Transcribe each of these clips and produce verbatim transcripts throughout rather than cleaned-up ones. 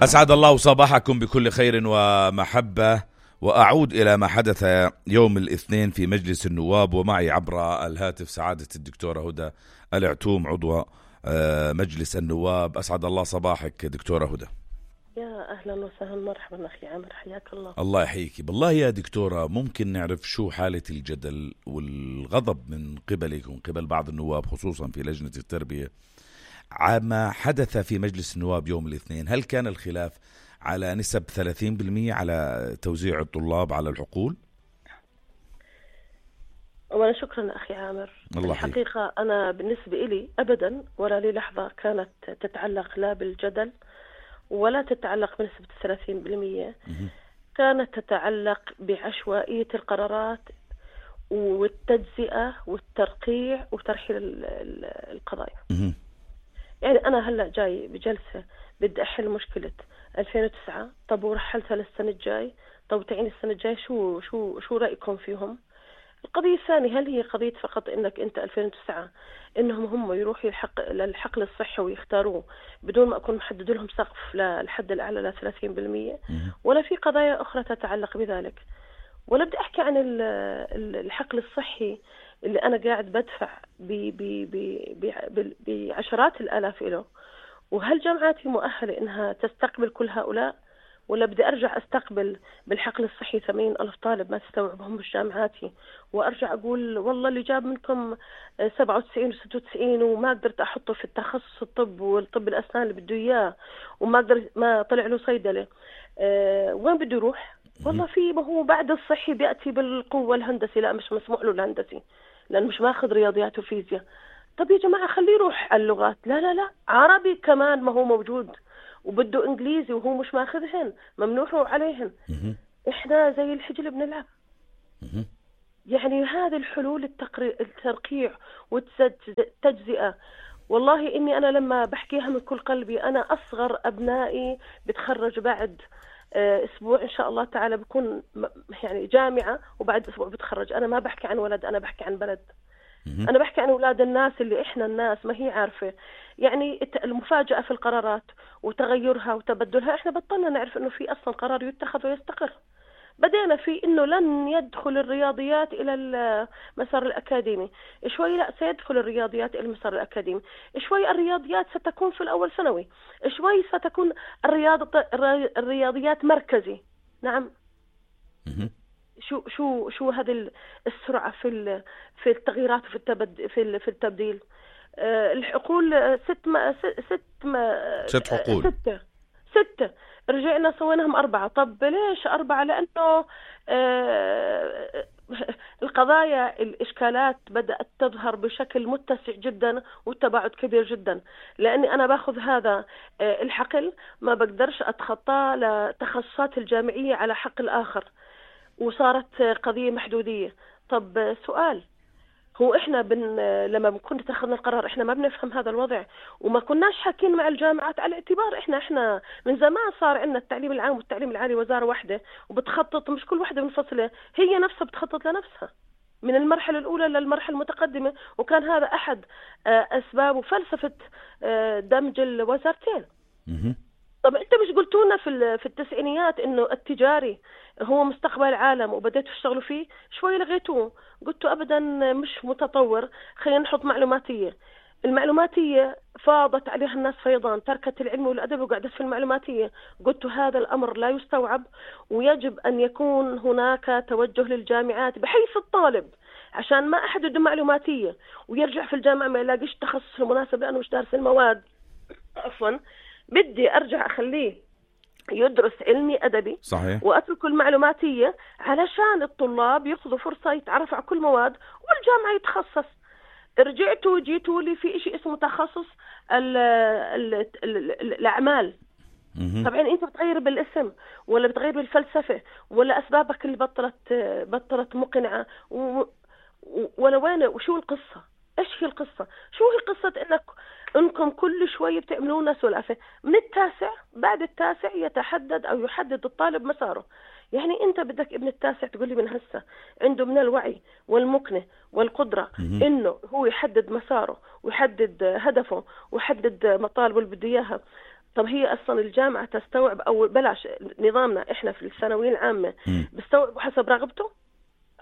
أسعد الله صباحكم بكل خير ومحبة، وأعود إلى ما حدث يوم الاثنين في مجلس النواب، ومعي عبر الهاتف سعادة الدكتورة هدى العتوم عضو مجلس النواب. أسعد الله صباحك دكتورة هدى. يا أهلا وسهلا، مرحبا أخي عامر، حياك الله. الله يحييك. بالله يا دكتورة، ممكن نعرف شو حالة الجدل والغضب من قبلك ومن قبل بعض النواب خصوصا في لجنة التربية عما حدث في مجلس النواب يوم الاثنين؟ هل كان الخلاف على نسب ثلاثين بالمئة على توزيع الطلاب على الحقول؟ أولا شكرا أخي عامر. الحقيقة أنا بالنسبة إلي أبدا ولا لي لحظة كانت تتعلق لا بالجدل ولا تتعلق بنسبة ثلاثين بالمئة، كانت تتعلق بعشوائية القرارات والتجزئة والترقيع وترحيل القضايا. يعني أنا هلأ جاي بجلسة بدي أحل مشكلة ألفين وتسعة، طب ورحلتها للسنة الجاي، طب تعيني السنة الجاي شو شو شو رأيكم فيهم؟ القضية الثانية، هل هي قضية فقط إنك أنت ألفين وتسعة إنهم هم يروحوا الحق للحقل الصحي ويختاروه بدون ما أكون محدد لهم سقف للحد الأعلى ل ثلاثين بالمئة، ولا في قضايا أخرى تتعلق بذلك؟ ولا بدي أحكي عن الحقل الصحي اللي أنا قاعد بدفع بعشرات الآلاف له، وهل جامعاتي مؤهلة إنها تستقبل كل هؤلاء، ولا بدي أرجع أستقبل بالحقل الصحي ثمانين ألف طالب ما تستوعبهم بجامعاتي، وأرجع أقول والله اللي جاب منكم سبعة وتسعين وستة وتسعين وما قدرت أحطه في التخصص الطب والطب الأسنان اللي بده إياه وما قدر ما طلع له صيدلة، أه وين بده يروح؟ والله في ما هو بعد الصحي بيأتي بالقوة الهندسي، لا مش مسموح له الهندسي لأنه مش ماخذ رياضيات وفيزياء. طب يا جماعة خليه يروح اللغات، لا لا لا عربي كمان ما هو موجود، وبده إنجليزي وهو مش ماخذهن، ممنوع عليهن. إحنا زي الحجل بنلعب. يعني هذه الحلول الترقيع والتجزئة، والله إني أنا لما بحكيها من كل قلبي، أنا أصغر أبنائي بتخرج بعد أسبوع إن شاء الله تعالى، بكون يعني جامعة وبعد أسبوع بتخرج. أنا ما بحكي عن ولد، أنا بحكي عن بلد. أنا بحكي عن أولاد الناس اللي إحنا الناس ما هي عارفة. يعني المفاجأة في القرارات وتغيرها وتبدلها، إحنا بطلنا نعرف إنه في أصلا قرار يتخذ ويستقر. بدينا في إنه لن يدخل الرياضيات إلى المسار الأكاديمي، شوي لا سيدخل الرياضيات إلى المسار الأكاديمي، شوي الرياضيات ستكون في الأول ثانوي، شوي ستكون الرياض الرياضيات مركزي. نعم. شو شو شو هذه السرعة في في التغييرات في التبد في في التبديل. أه الحقول ست ما ست ما ست حقول ستة ستة رجعنا سويناهم أربعة. طب ليش أربعة؟ لأنه أه القضايا الإشكالات بدأت تظهر بشكل متسع جدا والتباعد كبير جدا، لأني أنا باخذ هذا أه الحقل ما بقدرش أتخطى لتخصصات الجامعية على حقل آخر، وصارت قضية محدودية. طب سؤال، هو إحنا بن لما بنكون اتخذنا القرار إحنا ما بنفهم هذا الوضع وما كناش حاكين مع الجامعات على اعتبار إحنا إحنا من زمان صار عندنا التعليم العام والتعليم العالي وزارة واحدة وبتخطط، مش كل واحدة منفصلة، هي نفسها بتخطط لنفسها من المرحلة الأولى للمرحلة المتقدمة، وكان هذا أحد أسباب وفلسفة دمج الوزارتين. طب أنت مش قلتونا في في التسعينيات إنه التجاري هو مستقبل العالم وبدأتوا تشتغلوا فيه؟ شوي لغيتوه، قلتوا أبدا مش متطور، خلينا نحط معلوماتية. المعلوماتية فاضت عليها الناس فيضان، تركت العلم والأدب وقعدت في المعلوماتية. قلتوا هذا الأمر لا يستوعب، ويجب أن يكون هناك توجه للجامعات بحيث الطالب عشان ما أحد يدم معلوماتية ويرجع في الجامعة ما يلاقيش تخصص المناسب لأنه مش دارس المواد. عفوا، بدي أرجع أخليه يدرس علمي أدبي. صحيح. وأترك المعلوماتية علشان الطلاب يأخذوا فرصة يتعرفوا على كل مواد والجامعة يتخصص. رجعتوا جيتوا لي في إشي اسمه تخصص ال ال ال الأعمال. طبعا أنت بتغير بالاسم ولا بتغير بالفلسفة ولا أسبابك اللي بطلت بطلت مقنعة و... ولا وين وشو القصة؟ إيش هي القصة؟ شو هي قصة إنك إنكم كل شوية بتعملون سلافة؟ من التاسع بعد التاسع يتحدد أو يحدد الطالب مساره. يعني أنت بدك ابن التاسع تقول لي من هسه عنده من الوعي والمكنة والقدرة إنه هو يحدد مساره ويحدد هدفه ويحدد مطالبه اللي بده إياها. طب هي أصلا الجامعة تستوعب أو بلاش نظامنا إحنا في الثانوية العامة م. بستوعب حسب رغبته؟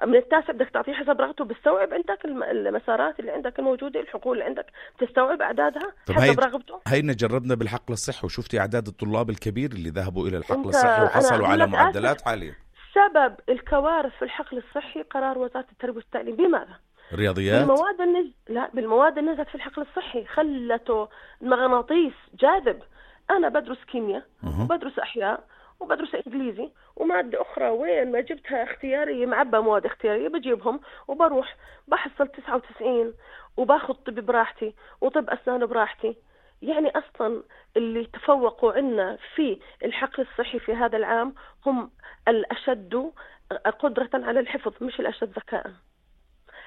من التاسع بدك تعطيه حسب رغبته، بتستوعب عندك المسارات اللي عندك الموجودة، الحقول اللي عندك بتستوعب أعدادها حسب رغبته؟ هينا جربنا بالحقل الصحي وشفتي أعداد الطلاب الكبير اللي ذهبوا إلى الحقل انت الصحي وحصلوا على معدلات آسف. عالية. سبب الكوارث في الحقل الصحي قرار وزارة التربية والتعليم. بماذا؟ رياضيات. بالمواد النز... لا بالمواد اللي نزلت في الحقل الصحي خلته مغناطيس جاذب. أنا بدرس كيمياء أه. وبدرس أحياء وبدرس إنجليزي ومادة أخرى، وين ما جبتها اختيارية معبى مواد اختيارية بجيبهم وبروح بحصل تسعة وتسعين وباخذ طب براحتي وطب أسنان براحتي. يعني أصلا اللي تفوقوا عنا في الحقل الصحي في هذا العام هم الأشد قدرة على الحفظ مش الأشد ذكاء،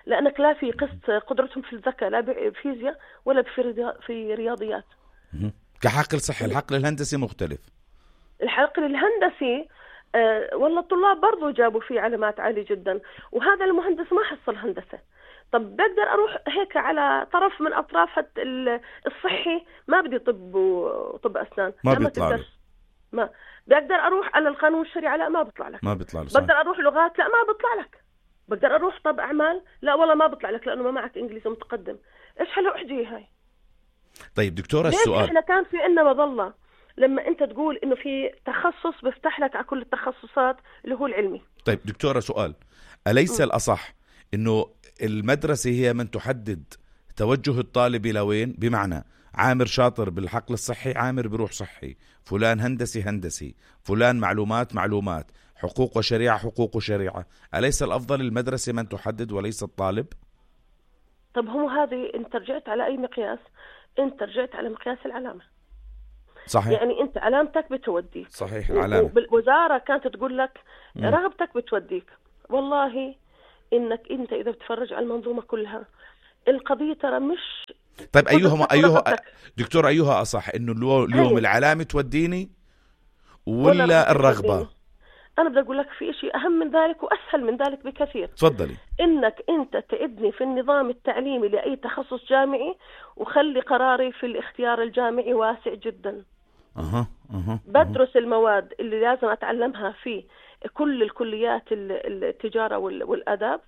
لأنك لا في قسط قدرتهم في الذكاء لا بفيزياء ولا في رياضيات. كحقل صحي. الحقل الهندسي مختلف. الحقل الهندسي أه والله الطلاب برضو جابوا فيه علامات عالية جدا، وهذا المهندس ما حصل هندسة. طب بقدر أروح هيك على طرف من أطراف الصحي ما بدي طب وطب أسنان ما بيطلع لي. ما بقدر أروح على القانون الشرعي لا ما بيطلع لك. ما بيطلع لي. بقدر أروح لغات لا ما بيطلع لك. بقدر أروح طب أعمال لا والله ما بيطلع لك لأنه ما معك إنجليزي متقدم. إيش حلو أحجي هاي. طيب دكتورة ليش السؤال إحنا كان في إننا مظلة لما أنت تقول إنه في تخصص بيفتح لك على كل التخصصات اللي هو العلمي. طيب دكتورة سؤال، أليس م. الأصح إنه المدرسة هي من تحدد توجه الطالب إلى وين؟ بمعنى عامر شاطر بالحقل الصحي عامر بروح صحي، فلان هندسي هندسي، فلان معلومات معلومات، حقوق وشريعة حقوق وشريعة. أليس الأفضل المدرسة من تحدد وليس الطالب؟ طب هو هذه انت رجعت على أي مقياس؟ انت رجعت على مقياس العلامة. صحيح. يعني انت علامتك بتوديك. صحيح. العلامة. والوزارة كانت تقول لك م. رغبتك بتوديك. والله انك انت اذا بتفرج على المنظومة كلها القضية ترى مش. طيب ايهما ايها دكتور ايها اصح انه اليوم العلامة توديني ولا الرغبة؟ انا بدي اقول لك في شيء اهم من ذلك واسهل من ذلك بكثير. تفضلي. انك انت تأذني في النظام التعليمي لاي تخصص جامعي وخلي قراري في الاختيار الجامعي واسع جدا. اها اها بدرس المواد اللي لازم اتعلمها في كل الكليات التجارة والآداب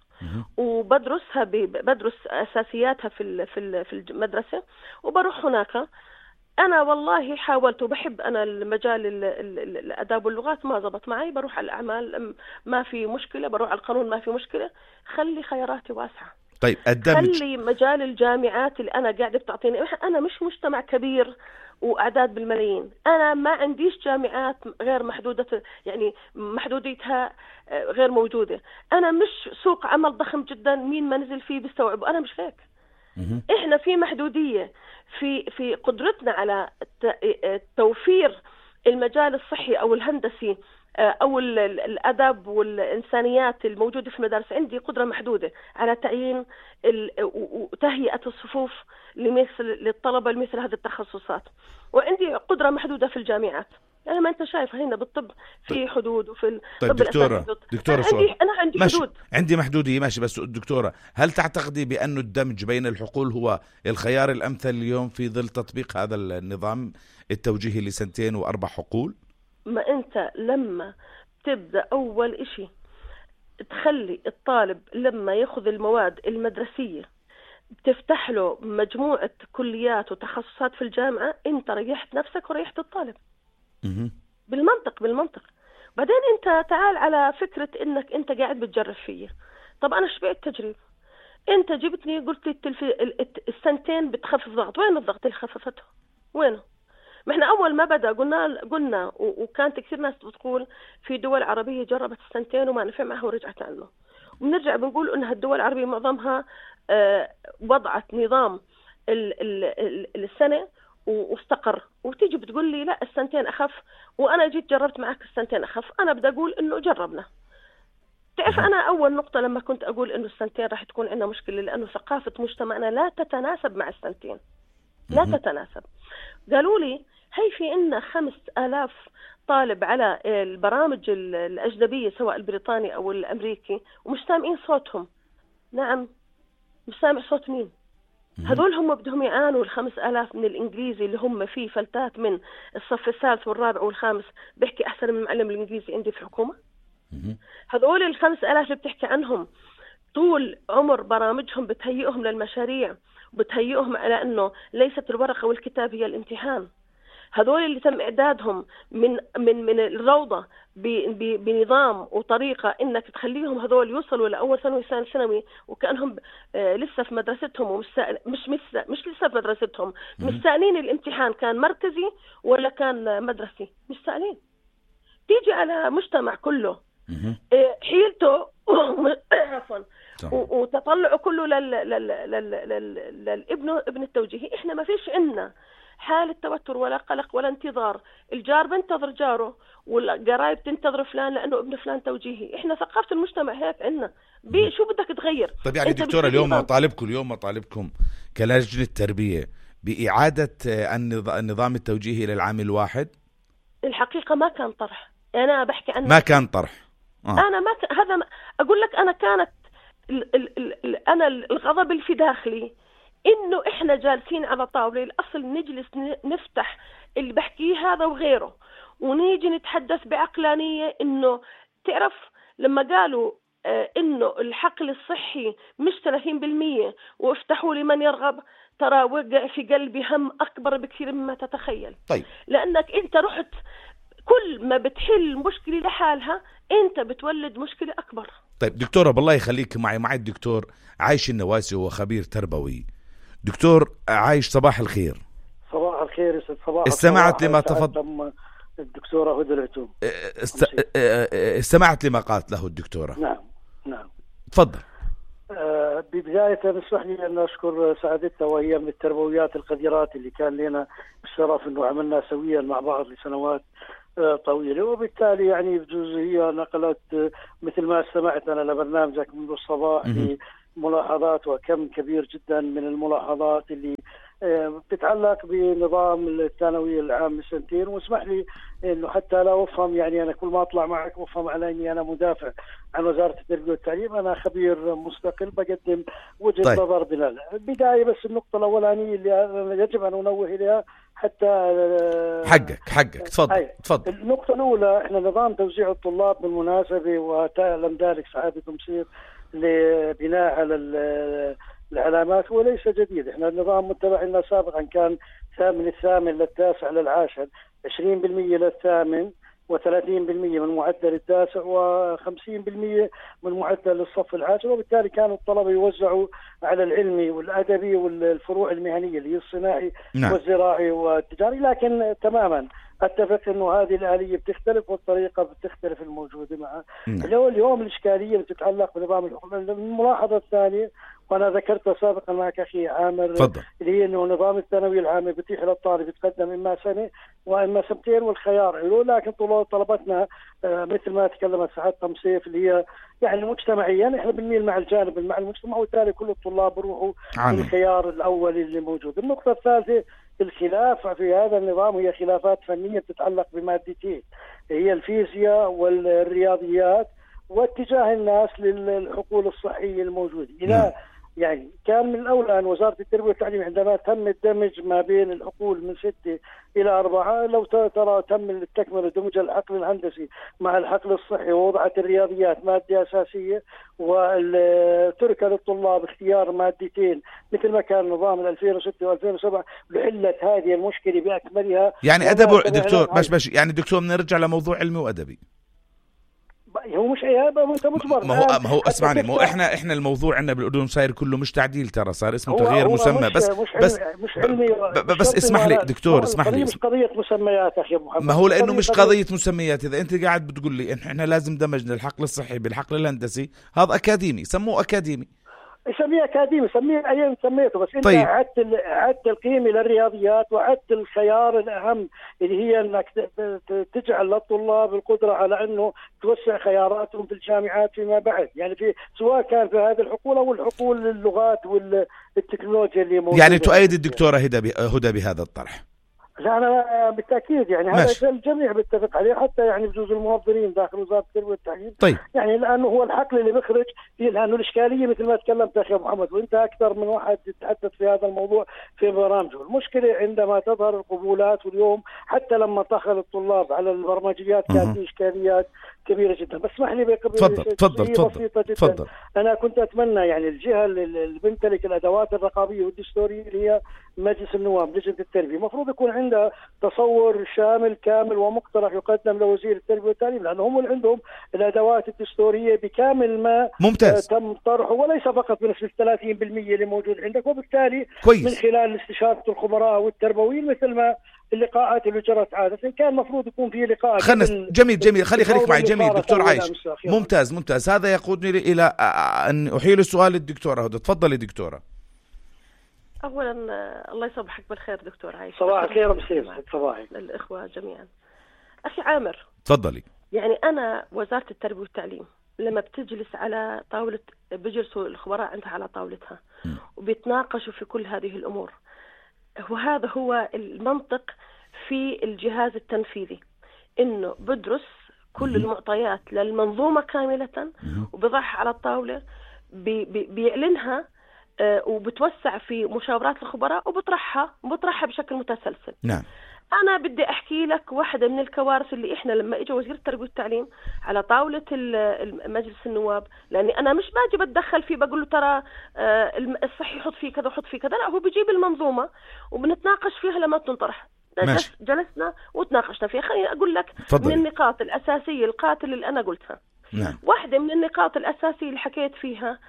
وبدرسها بدرس أساسياتها في في المدرسة وبروح هناك. أنا والله حاولت وبحب أنا المجال الآداب واللغات ما زبط معي، بروح على الأعمال ما في مشكلة، بروح على القانون ما في مشكلة. خلي خياراتي واسعة. طيب الدمج. خلي مجال الجامعات اللي أنا قاعدة بتعطيني. أنا مش مجتمع كبير وأعداد بالملايين، أنا ما عنديش جامعات غير محدودة يعني محدوديتها غير موجودة. أنا مش سوق عمل ضخم جدا مين ما نزل فيه بيستوعبه. أنا مش هيك. إحنا في محدودية في في قدرتنا على توفير المجال الصحي أو الهندسي أو الأدب والإنسانيات الموجودة في المدارس. عندي قدرة محدودة على تعيين وتهيئة الصفوف لمثل للطلبة لمثل هذه التخصصات، وعندي قدرة محدودة في الجامعات. يعني ما أنت شايف هنا بالطب في حدود وفي الطب. طيب دكتورة دكتورة أنا عندي, أنا عندي ماشي. حدود. عندي محدودية ماشي، بس دكتورة هل تعتقدي بأنه الدمج بين الحقول هو الخيار الأمثل اليوم في ظل تطبيق هذا النظام التوجيهي لسنتين وأربع حقول؟ ما أنت لما تبدأ أول إشي تخلي الطالب لما يأخذ المواد المدرسية بتفتح له مجموعة كليات وتخصصات في الجامعة، أنت ريحت نفسك وريحت الطالب. م- بالمنطق بالمنطق. بعدين أنت تعال على فكرة إنك أنت قاعد بتجرب فيه. طب أنا شبعت تجريب. أنت جبتني قلت لي التلفي... السنتين بتخفف ضغط. وين الضغط اللي خففته؟ وينه؟ ما احنا أول ما بدأ قلنا قلنا وكانت كثير ناس بتقول في دول عربية جربت السنتين وما نفع معها ورجعت عنه. وبنرجع بنقول إنها الدول العربية معظمها اه وضعت نظام ال ال السنة واستقر، وتيجي بتقول لي لا السنتين أخف، وأنا جيت جربت معك السنتين أخف. أنا بدي أقول إنه جربنا. تعرف أنا أول نقطة لما كنت أقول إنه السنتين راح تكون عندنا مشكلة لأنه ثقافة مجتمعنا لا تتناسب مع السنتين، لا تتناسب. قالوا لي هي في إننا خمس آلاف طالب على البرامج الأجنبية سواء البريطاني أو الأمريكي ومش سامعين صوتهم. نعم مش سامع صوت مين؟ هذول هم بدهم يعانوا الخمس آلاف من الإنجليزي اللي هم فيه فلتات من الصف الثالث والرابع والخامس بيحكي أحسن من المعلم الإنجليزي عندي في الحكومة. هذول الخمس آلاف اللي بتحكي عنهم طول عمر برامجهم بتهيئهم للمشاريع وبتهيئهم على أنه ليست الورقة والكتاب هي الامتحان. هذول اللي تم إعدادهم من من من الروضة بنظام وطريقة إنك تخليهم هذول يوصلوا لأول ثانوي ثاني ثانوي وكأنهم لسه في مدرستهم ومش مش مش مش لسه في مدرستهم، مش سائلين الامتحان كان مركزي ولا كان مدرسي، مش سائلين. تيجي على مجتمع كله حيلته عفوا وتطلعه كله لل لل لل للابن ابن التوجيهي. إحنا ما فيش عنا حالة توتر ولا قلق ولا انتظار. الجار بنتظر جاره والقرايب تنتظر فلان لأنه ابن فلان توجيهي. إحنا ثقافة المجتمع هيك عنا. شو بدك تغير؟ طيب يعني دكتورة اليوم مطالبكم اليوم مطالبكم كلجنة تربية بإعادة النظام التوجيهي للعام الواحد؟ الحقيقة ما كان طرح. أنا بحكي عنه ما كان طرح. آه. أنا ما ك... هذا ما... أقول لك أنا كانت ال... ال... ال... أنا الغضب اللي في داخلي إنه إحنا جالسين على طاولة الأصل نجلس نفتح اللي بحكيه هذا وغيره ونيجي نتحدث بعقلانية. إنه تعرف لما قالوا آه إنه الحقل الصحي مش ثلاثين بالمية وافتحوا لمن يرغب، ترى وقع في قلبي هم أكبر بكثير مما تتخيل. طيب. لأنك أنت رحت كل ما بتحل مشكلة لحالها أنت بتولد مشكلة أكبر. طيب دكتورة بالله يخليك معي معي الدكتور عايش النواسي وهو خبير تربوي. دكتور عايش صباح الخير. صباح الخير يسعد صباح. استمعت لما تفضل الدكتورة هدى العتوم. است... استمعت لما قالت له الدكتورة. نعم نعم تفضل. أه ببداية نسمح لي أن أشكر سعادتها وهي من التربويات القديرات اللي كان لنا الشرف أنه عملنا سويا مع بعض لسنوات طويلة، وبالتالي يعني بجوز هي نقلت مثل ما استمعت أنا لبرنامجك منذ الصباح بملاحظات وكم كبير جدا من الملاحظات اللي بتتعلق بنظام الثانوي العام سنتين. واسمح لي انه حتى لا افهم يعني انا كل ما اطلع معك افهم على اني انا مدافع عن وزارة التربية والتعليم. انا خبير مستقل بقدم وجهة طيب. نظر بلال. البداية بس النقطة الاولانية اللي يجب ان انوه اليها حتى حقك حقك تفضل تفضل. النقطة الاولى احنا نظام توزيع الطلاب بالمناسبة وتعلم ذلك سعادة مصير لبناء على العلامات وليس جديد. احنا النظام متبع لنا سابقا كان من الثامن للتاسع للعاشر عشرين بالمئة للثامن وثلاثين بالمئة من معدل التاسع وخمسين بالمئة من معدل الصف العاشر، وبالتالي كانوا الطلبة يوزعوا على العلمي والأدبي والفروع المهنية اللي هي الصناعي نعم. والزراعي والتجاري. لكن تماما اتفق انه هذه الآلية بتختلف والطريقة بتختلف الموجودة معها. نعم. اليوم الإشكالية بتتعلق بنظام الحكم. الملاحظة الثانية وانا ذكرتها سابقا معك اخي عامر فضل. اللي هي انه نظام الثانوي العام بيتيح للطالب يتقدم اما سنه واما سنتين والخيار له، لكن طلبتنا مثل ما تكلمت سعادة تمصيف اللي هي يعني مجتمعيا احنا بنميل مع الجانب مع المجتمع، وبالتالي كل الطلاب بيروحوا الخيار الاول اللي موجود. النقطه الثالثه الخلاف في هذا النظام هي خلافات فنيه بتتعلق بمادتين هي الفيزياء والرياضيات واتجاه الناس للحقول الصحيه الموجوده. اذا يعني كان من الأولى أن وزارة التربية والتعليم عندما تم الدمج ما بين الحقول من ستة إلى أربعة، لو ترى تم التكملة دمج الحقل الهندسي مع الحقل الصحي ووضعت الرياضيات مادة أساسية وترك للطلاب اختيار مادتين مثل ما كان نظام ألفين وستة وألفين وسبعة لحلت هذه المشكلة بأكملها. يعني أدب دكتور باش باش يعني دكتور بنرجع لموضوع علمي وأدبي. هو مش عيابه انت مجبر. ما هو ما هو اسمعني ما هو احنا احنا الموضوع عندنا بالاردن صاير كله مش تعديل، ترى صار اسمه تغيير مسمى. مش بس مش بس مش علمي بس اسمح لي دكتور اسمح لي مش قضيه مسميات اخي محمد. ما هو لانه مش قضيه مسميات. اذا انت قاعد بتقول لي احنا لازم دمجنا الحقل الصحي بالحقل الهندسي هذا اكاديمي، سموه اكاديمي سميه اكاديمي سميه اي سميته. بس انت طيب. عدت عدت القيمه للرياضيات وعدت الخيار الاهم اللي هي انك تجعل للطلاب القدره على انه توسع خياراتهم في الجامعات فيما بعد، يعني في سواء كان في هذه الحقول او الحقول اللغات والتكنولوجيا اللي موجوده. يعني تؤيد الدكتوره هدى هدى بهذا الطرح؟ لا أنا بالتأكيد يعني ماشي. هذا الجميع بيتفق عليه، حتى يعني بجوز الموظفين داخل وزارة التربية والتعليم. طيب. يعني لأنه هو الحقل اللي بيخرج فيه، لأنه الإشكالية مثل ما تكلمت أخي محمد، وأنت أكثر من واحد يتحدث في هذا الموضوع في برامجه. المشكلة عندما تظهر القبولات، واليوم حتى لما دخل الطلاب على البرمجيات كانت إشكاليات كبيرة جدا. بس اسمح لي تفضل تفضل بسيطة جدا. تفضل. أنا كنت أتمنى يعني الجهة اللي بتمتلك الأدوات الرقابية والدستورية اللي هي مجلس النواب، لجنة التربية، المفروض يكون عندها تصور شامل كامل ومقترح يقدم لوزير التربية والتعليم، لأنه هم اللي عندهم الأدوات الدستورية بكامل ما ممتاز. تم طرحه، وليس فقط بنسبة ثلاثين بالمئة اللي موجود عندك. وبالتالي كويس. من خلال استشارة الخبراء والتربويين، مثل ما اللقاءات اللي جرت عادة، كان المفروض يكون في لقاء. خلنا جميل جميل خلي خليك معي. جميل دكتور عايش، ممتاز ممتاز. هذا يقودني إلى أن أحيل السؤال للدكتورة هدى. تفضلي دكتورة. أولا الله يصبحك بالخير دكتور عايش. صباح الخير بسير صباحك الإخوة جميعا. أخي عامر، تفضلي. يعني أنا وزارة التربية والتعليم لما بتجلس على طاولة، بيجلسوا الخبراء عندها على طاولتها وبيتناقشوا في كل هذه الأمور، وهذا هو المنطق في الجهاز التنفيذي، إنه بدرس كل المعطيات للمنظومة كاملة وبضعها على الطاولة، بي بي بيعلنها آه وبتوسع في مشاورات الخبراء وبطرحها بطرحها بشكل متسلسل. نعم. أنا بدي أحكي لك واحدة من الكوارث اللي إحنا لما إجا وزير التربية والتعليم على طاولة مجلس النواب، لأني أنا مش باجي بتدخل فيه بقول له ترى الصحي حط فيه كذا وحط فيه كذا، لا، هو بيجيب المنظومة وبنتناقش فيها لما تنطرح. جلسنا وتناقشنا فيها. خليني أقول لك فضلي. من النقاط الأساسية القاتل اللي أنا قلتها. نعم. واحدة من النقاط الأساسية اللي حكيت فيها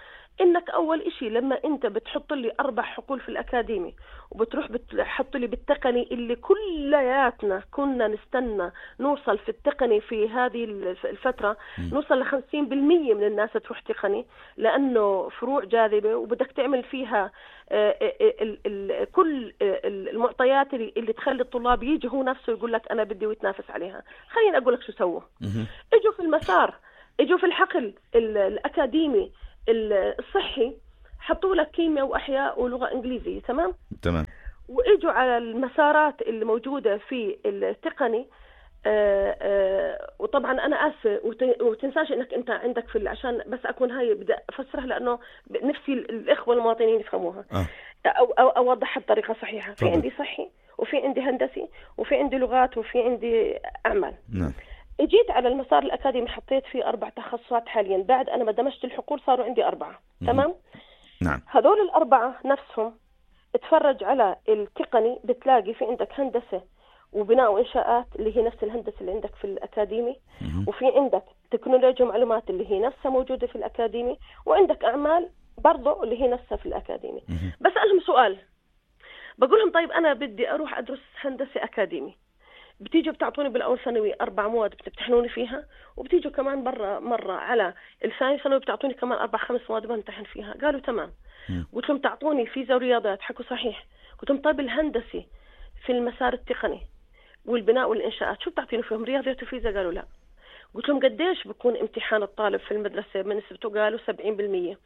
إنك أول إشي لما أنت بتحط لي أربع حقول في الأكاديمي وبتروح بتحط لي بالتقني اللي كلياتنا كنا نستنى نوصل في التقني في هذه الفترة م. نوصل لخمسين بالمية من الناس تروح تقني، لأنه فروع جاذبة وبدك تعمل فيها ال ال كل المعطيات اللي تخلي الطلاب يجي هو نفسه يقول لك أنا بدي ويتنافس عليها. خليني أقول لك شو سووا. اجوا في المسار، اجوا في الحقل الأكاديمي الصحي، حطوا لك كيمياء وأحياء ولغة إنجليزية. تمام تمام. وإجوا على المسارات اللي موجودة في التقني. آآ آآ وطبعا أنا آسفة وتنساش إنك أنت عندك في عشان بس أكون هاي بدأ أفسرها لأنه نفسي الإخوة المواطنين يفهموها. آه. أو, أو أوضحها بطريقة صحيحة. فضل. في عندي صحي وفي عندي هندسي وفي عندي لغات وفي عندي أعمال. نعم. اجيت على المسار الأكاديمي حطيت فيه أربع تخصصات حاليا، بعد أنا ما دمجت الحقول صاروا عندي أربعة. مم. تمام. نعم. هذول الأربعة نفسهم اتفرج على التقني بتلاقي في عندك هندسة وبناء وإنشاءات اللي هي نفس الهندسة اللي عندك في الأكاديمي، مم. وفي عندك تكنولوجيا ومعلومات اللي هي نفسها موجودة في الأكاديمي، وعندك أعمال برضو اللي هي نفسها في الأكاديمي. مم. بسألهم سؤال، بقول لهم طيب أنا بدي أروح أدرس هندسة أكاديمي، بتيجوا بتعطوني بالأول ثانوي أربع مواد بتمتحنوني فيها، وبتيجوا كمان برا مرة على الثاني ثانوي بتعطوني كمان أربع خمس مواد بمتحن فيها. قالوا تمام. قلت لهم تعطوني فيزياء ورياضيات، حكوا صحيح. قلت لهم طيب الهندسي في المسار التقني والبناء والإنشاءات شو بتعطيني فيهم؟ رياضيات وفيزياء. قالوا لا. قلت لهم قديش بكون امتحان الطالب في المدرسة من نسبته؟ قالوا سبعين بالمية.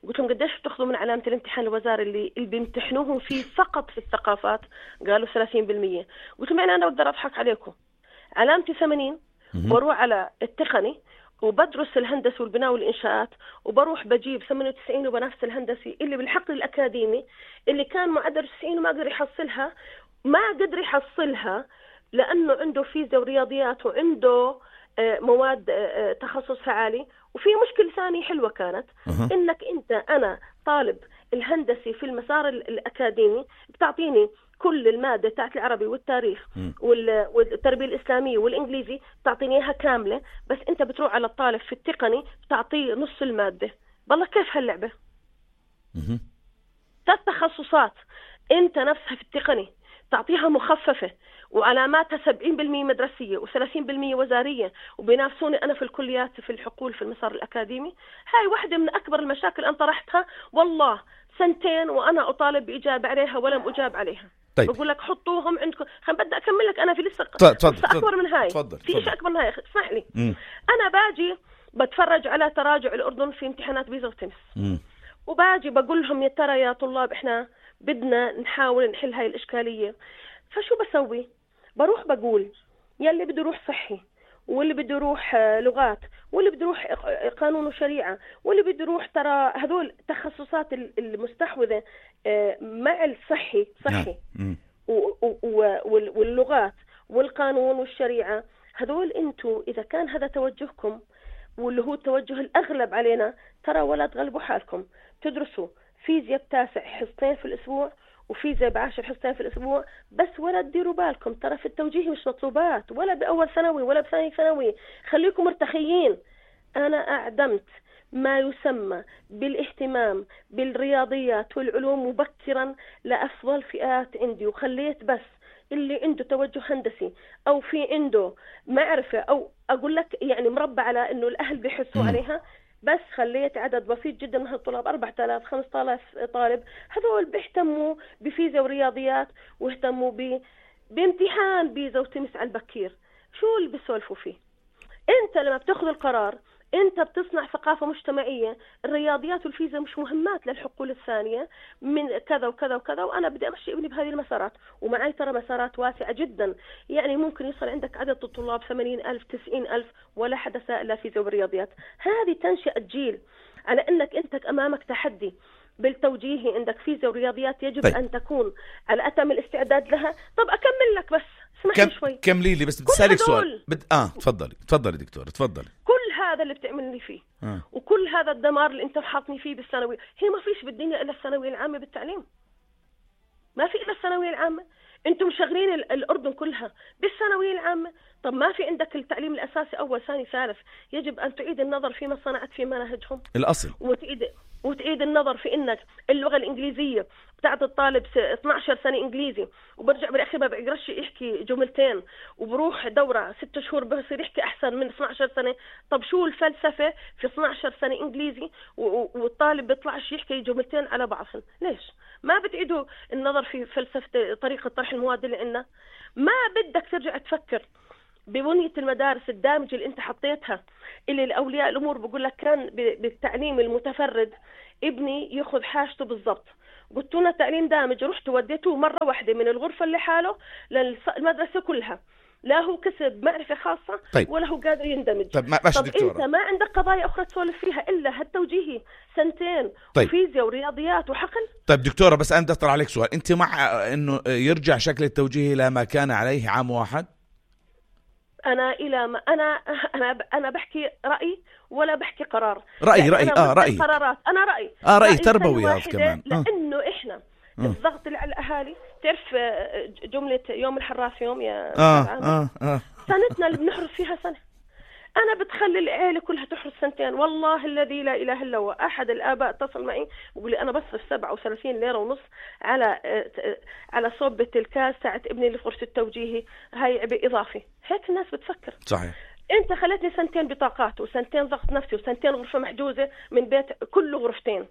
قلت لهم قديش بتاخذوا من علامة الامتحان الوزاري اللي اللي بيمتحنوهم فيه فقط في الثقافات؟ قالوا ثلاثين بالمية. قلت لهم يعني أنا بقدر أضحك عليكم، علامتي ثمانين وبروح على التقني وبدرس الهندسة والبناء والإنشاءات وبروح بجيب ثمانية وتسعين وبنفس الهندسي اللي بالحقل الأكاديمي اللي كان معدل تسعين وما قدر يحصلها ما قدر يحصلها لأنه عنده فيزياء ورياضيات وعنده مواد تخصصها عالي. وفي مشكلة ثانية حلوة كانت أه. إنك أنت أنا طالب الهندسي في المسار الأكاديمي بتعطيني كل المادة تاعت العربي والتاريخ م. والتربية الإسلامية والإنجليزي تعطيني إياها كاملة، بس أنت بتروح على الطالب في التقني بتعطيه نص المادة. بالله كيف هاللعبة؟ ثلاث تخصصات أنت نفسها في التقني تعطيها مخففة وعلاماتها سبعين بالمية مدرسية وثلاثين بالمية وزارية، وبينافسوني أنا في الكليات في الحقول في المسار الأكاديمي. هاي واحدة من أكبر المشاكل أنا طرحتها والله سنتين وأنا أطالب بإجابة عليها ولم أجاب عليها. طيب. بقول لك حطوهم عندكم. خل بدي أكمل لك أنا في لسه أكبر من هاي. تفضل. في شيء أكبر من هاي اسمح لي. مم. أنا باجي بتفرج على تراجع الأردن في امتحانات بيزا وتمس، وباجي بقول لهم يا ترى يا طلاب إحنا بدنا نحاول نحل هاي الإشكالية. فشو بسوي؟ بروح بقول يلي بده يروح صحي، واللي بده يروح لغات، واللي بده يروح قانون وشريعة، واللي بده يروح ترى هذول تخصصات المستحوذة مع الصحي صحي واللغات والقانون والشريعة. هذول انتوا إذا كان هذا توجهكم واللي هو التوجه الأغلب علينا، ترى ولا تغلبوا حالكم. تدرسوا فيزياء بتاسع حصتين في الأسبوع وفيزياء بعشر حصتين في الأسبوع بس، ولا تديروا بالكم ترى في التوجيه مش مطلوبات ولا بأول ثانوي ولا بثاني ثانوي. خليكم مرتخيين. أنا أعدمت ما يسمى بالاهتمام بالرياضيات والعلوم مبكرا لأفضل فئات عندي، وخليت بس اللي عنده توجه هندسي أو في عنده معرفة أو أقول لك يعني مربع على إنه الأهل بيحسوا عليها، بس خليت عدد بسيط جدا من هالطلاب أربعة آلاف خمسة آلاف طالب هذول بيهتموا بفيزياء ورياضيات واهتموا ب... بامتحان بيزا وتمس على البكير. شو اللي بيسولفوا فيه؟ انت لما بتاخذ القرار انت بتصنع ثقافة مجتمعية. الرياضيات والفيزياء مش مهمات للحقول الثانية من كذا وكذا وكذا، وانا بدي امشي ابني بهذه المسارات، ومعي ترى مسارات واسعة جدا. يعني ممكن يصل عندك عدد الطلاب ثمانين ألف تسعين ألف ولا حدا سائل لا فيزياء والرياضيات. هذه تنشئة جيل على انك انت امامك تحدي بالتوجيه، عندك فيزياء ورياضيات يجب طيب. ان تكون على اتم الاستعداد لها. طب اكمل لك بس اسمح لي شوي. كملي لي بس بدي اسالك سؤال. بد... اه تفضلي تفضلي دكتور تفضلي. كل هذا اللي بتعملني فيه آه. وكل هذا الدمار اللي انت حاطني فيه بالثانوي، هي ما فيش بالدنيا الا الثانويه العامه بالتعليم. ما في الا الثانويه العامه. انتم مشغلين الاردن كلها بالثانويه العامه. طب ما في عندك التعليم الاساسي اول ثاني ثالث؟ يجب ان تعيد النظر فيما صنعت في مناهجهم الاصل، وتعيد وتعيد النظر في انك اللغه الانجليزيه بتاعت الطالب اثنعش سنه انجليزي وبرجع بالاخير ما بيقدرش يحكي جملتين وبروح دوره ست شهور بصير يحكي احسن من اثنعش سنه. طب شو الفلسفه في اثنعش سنه انجليزي والطالب بيطلعش يحكي جملتين على بعضهم؟ ليش ما بتعيدوا النظر في فلسفه طريقه طرح المواد اللي عندنا؟ ما بدك ترجع تفكر ببنية المدارس الدامجة اللي انت حطيتها، اللي الأولياء الأمور بقول لك كان بالتعليم المتفرد ابني يأخذ حاجته بالضبط. قلت لنا تعليم دامج، رحت وديته مرة واحدة من الغرفة اللي حاله للمدرسة كلها، لا هو كسب معرفة خاصة طيب. ولا هو قادر يندمج. طيب, ما طب انت ما عندك قضايا أخرى تسولف فيها إلا هالتوجيهي سنتين طيب. وفيزياء ورياضيات وحقل. طيب دكتورة بس أنا بدي أطرح عليك سؤال، أنت مع إنه يرجع شكل التوجيهي لما كان عليه عام واحد؟ أنا إلى ما أنا أنا أنا بحكي رأي ولا بحكي قرار. رأي يعني رأي أنا آه رأي قرارات. أنا رأي آه رأي تربوي هذا كمان. لأنه آه. إحنا آه. الضغط اللي على الأهالي، تعرف جملة يوم الحراس يوم يا آه آه آه. سنتنا اللي بنحرس فيها سنة. أنا بتخلي العيلة كلها تحرس سنتين. والله الذي لا إله إلا هو أحد الآباء اتصل معي وقال لي أنا بصرف سبعة وثلاثين ليرة ونص على على صوبة الكاس تاعت ابني اللي في غرفة التوجيهي، هاي عبء إضافي. هيك الناس بتفكر. صحيح. أنت خلتني سنتين بطاقات وسنتين ضغط نفسي وسنتين غرفة محجوزة من بيت كله غرفتين.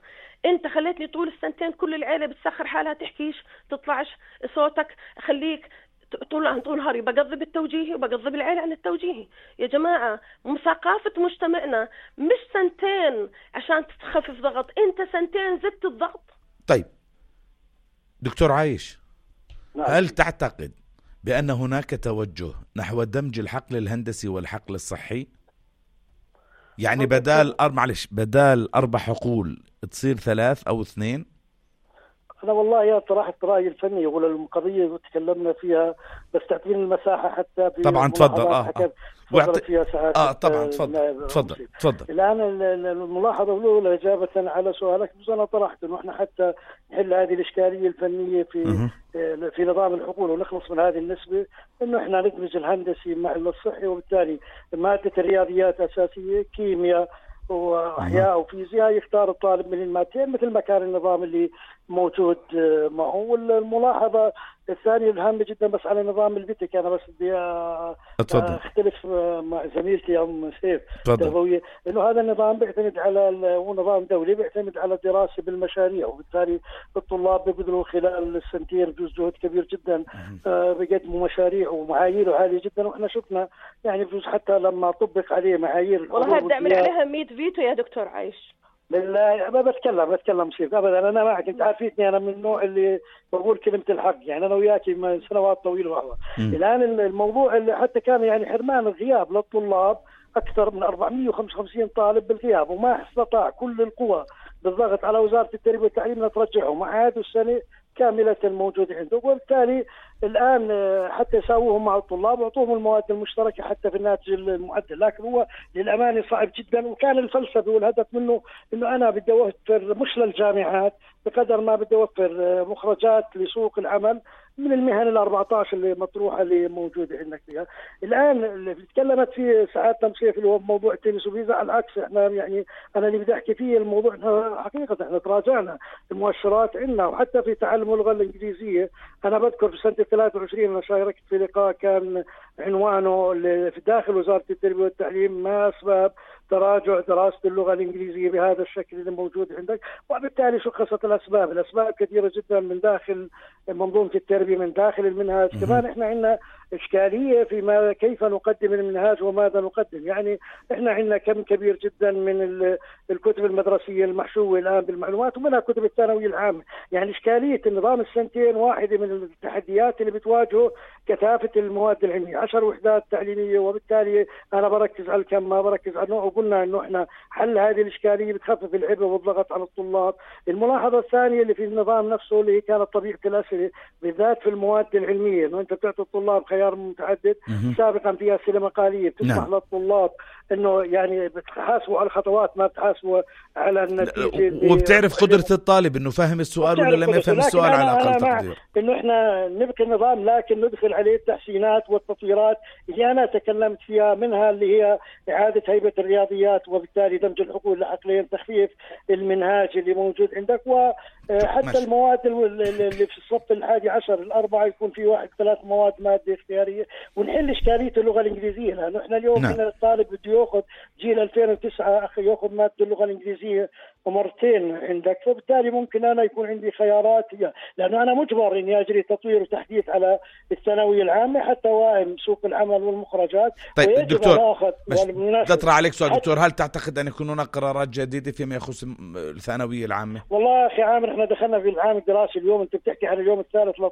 أنت خلتني طول السنتين كل العيلة بتسخر حالها تحكيش تطلعش صوتك، خليك طول عن طول نهاري بقضي بالتوجيهي وبقضي بالعيلة عن التوجيهي. يا جماعة ثقافة مجتمعنا مش سنتين عشان تخفف ضغط، انت سنتين زدت الضغط. طيب دكتور عايش، هل تعتقد بأن هناك توجه نحو دمج الحقل الهندسي والحقل الصحي؟ يعني بدال أر... معلش بدال أربع حقول تصير ثلاث أو اثنين؟ أنا والله يا طرحت رأيي الفني ولا القضية وتكلمنا فيها، بس تعطيني المساحة حتى طبعا تفضل اه اه وعطي فيها ساعات اه طبعا تفضل تفضل تفضل. الآن الملاحظة الأولى إجابة على سؤالك، بس أنا طرحت إنه إحنا حتى نحل هذه الإشكالية الفنية في في نظام الحقول ونخلص من هذه النسبة، إنه إحنا ندمج الهندسي مع الصحي، وبالتالي مادة الرياضيات أساسية، كيمياء وأحياء وفيزياء يختار الطالب من المادتين مثل ما كان النظام اللي موجود معه. والملاحظة الثانية الهامة جدا بس على نظام البتك، أنا بس بدي أختلف مع زميلتي أم سيف تربوية، إنه هذا النظام بيعتمد على هو نظام دولي بيعتمد على الدراسة بالمشاريع، وبالتالي الطلاب بيقدروا خلال السنتين بجوز جهد كبير جدا بيقدموا مشاريع ومعايير عالية جدا. وإحنا شفنا يعني بجوز حتى لما طبق عليه معايير والله بدي أعمل عليها مية فيتو يا دكتور عايش. لا ما بتكلم بتكلم سيف ابدا. انا معك، انت عارفيتني انا من النوع اللي بقول كلمه الحق، يعني انا وياك من سنوات طويله وهو الان الموضوع اللي حتى كان يعني حرمان الغياب للطلاب اكثر من أربعمئة وخمسة وخمسين طالب بالغياب، وما استطاع كل القوى بالضغط على وزاره التربيه والتعليم لترجعهم، وعادوا السنه كامله موجوده عنده، وبالتالي الان حتى يساووهم مع الطلاب واعطوهم المواد المشتركه حتى في الناتج المعدل. لكن هو للامانه صعب جدا، وكان الفلسفه والهدف منه انه انا بدي اوفر مش للجامعات بقدر ما بدي اوفر مخرجات لسوق العمل من المهن ال أربعة عشر اللي مطروحه اللي موجوده عندك فيها. الان اللي تكلمت فيه سعاده تمسيح اللي هو موضوع التنس وفيزا، على العكس احنا يعني انا اللي بدي احكي فيه الموضوع احنا حقيقه احنا تراجعنا المؤشرات عندنا، وحتى في تعلم اللغه الانجليزيه انا بذكر في سنه ثلاثة وعشرين انا شاركت في لقاء كان عنوانه في داخل وزاره التربيه والتعليم ما اسباب تراجع دراسه اللغه الانجليزيه بهذا الشكل اللي موجود عندك، وبالتالي شخصت الاسباب، الاسباب كثيره جدا من داخل منظومه التربيه من داخل المنهاج. كمان احنا عندنا اشكاليه في ما كيف نقدم المنهاج وماذا نقدم، يعني احنا عندنا كم كبير جدا من الكتب المدرسيه المحشوه الان بالمعلومات ومنها كتب الثانويه العامه، يعني اشكاليه النظام السنتين واحده من التحديات اللي بتواجهه كثافه المواد العلميه، عشر وحدات تعليميه، وبالتالي انا بركز على الكم ما بركز على النوع، وقلنا انه احنا حل هذه الاشكاليه بتخفف العبء والضغط على الطلاب. الملاحظه الثانيه اللي في النظام نفسه اللي كانت طبيعه الاسئله بالذات في المواد العلميه، انه انت بتعطي الطلاب خيار متعدد، سابقا في اسئله مقاليه بتسمح نعم. للطلاب انه يعني بتحاسبوا على الخطوات ما بتحاسبوا على النتيجه، وبتعرف قدره الطالب انه فهم السؤال ولا لم يفهم السؤال على اقل تقدير. انه احنا نبقي النظام لكن ندخل عليه التحسينات والتطويرات اللي انا تكلمت فيها، منها اللي هي اعاده هيبه الرياضيات وبالتالي دمج الحقول العقلين، تخفيف المنهاج اللي موجود عندك، وحتى ماشي. المواد اللي في الصف الحادي عشر الاربعه يكون في واحد ثلاث مواد ماده اختياريه، ونحل اشكاليه اللغه الانجليزيه، لانه احنا اليوم نعم. الطالب بده ياخذ جيل ألفين وتسعة اخي ياخذ ماده اللغه الانجليزيه مرتين عندك، فبالتالي ممكن انا يكون عندي خيارات، لانه انا مجبر اني اجري تطوير وتحديث على الثانويه العامه حتى واهم سوق العمل والمخرجات. طيب دكتور تطرح عليك سؤال دكتور، هل تعتقد ان يكون هناك قرارات جديده فيما يخص الثانويه العامه؟ والله اخي عامر احنا دخلنا في العام الدراسي اليوم، انت بتحكي عن اليوم الثالث للطلاب،